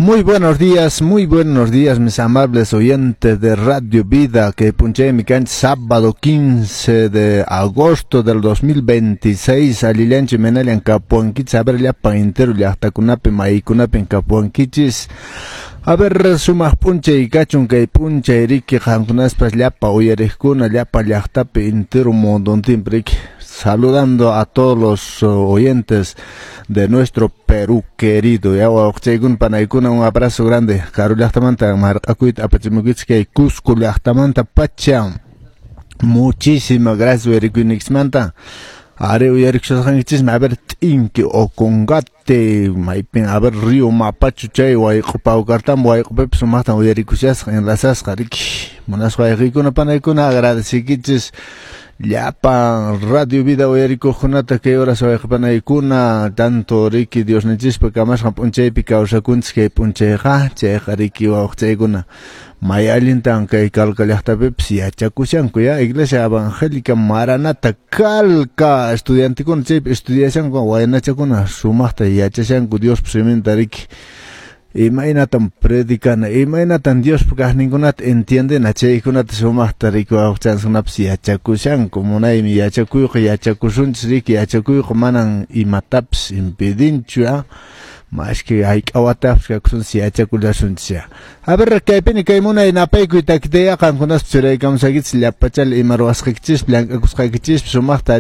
Muy buenos días, mis amables oyentes de Radio Vida, que p'unchaymi kanchis sábado 15 de agosto del 2026, allillanchu, imaynallan kapuwankichis? A ver, llapan entero llaqtakunapi, maykunapin kapuwankichis. A ver, sumaq p'unchay kachun kay p'unchay, riki, qamkunaspas llapa uyariqkuna, llapa llaqtapi, entero mundontinpi, riki. Saludando a todos los oyentes de nuestro Perú querido. Ya, wawqichaykuna, panaykuna, un abrazo grande. Karu llaqtamanta marq'akuyta apachimukichis kay Cusco llaqtamanta pacha. Muchísimas gracias uyarikuyniykichismanta. Are uyarikushasqankichismi, a ver, t'inki Ocongate, maypin, a ver, río Mapacho chay wayq'u Paucartambo wayq'upipas sumaqtan uyarikushasqa, enlazasqa, riki. Munasqa wayqiykuna, panaykuna, agradecikichis llapan Radio Vida uyarikuqkunata kay horas, wayqipanaykuna, tanto, riki, Diosninchispa kamasqan p'unchaypi kawsakunchis kay p'unchayqa, chayqa, riki, wawqichaykuna, may allintan kay Calca llaqtapipis yachakushanku, ya, Iglesia Evangélica Maranata Calca estudiantekuna chaypi estudiashanku, waynachakuna sumaqta yachashanku Diospa siminta, riki, imaynatan predicana, imaynatan Diospa kaqninkunata entiendena, chaykunata sumaqta, riki, wawqichankunapas yachakushanku. Munaymi yachakuyqa, yachakusunchis, riki, yachakuyqa manan imatapis impidinchu, ya, maski hayk'a watapis kakusunchis, yachakullasunchis, ya. A ver, kaypini kay munay napaykuy takitaya qamkunaspas churaykamusaykichis llapachala ima ruwasqaykichispi, llank'akusqaykichispi sumaqta.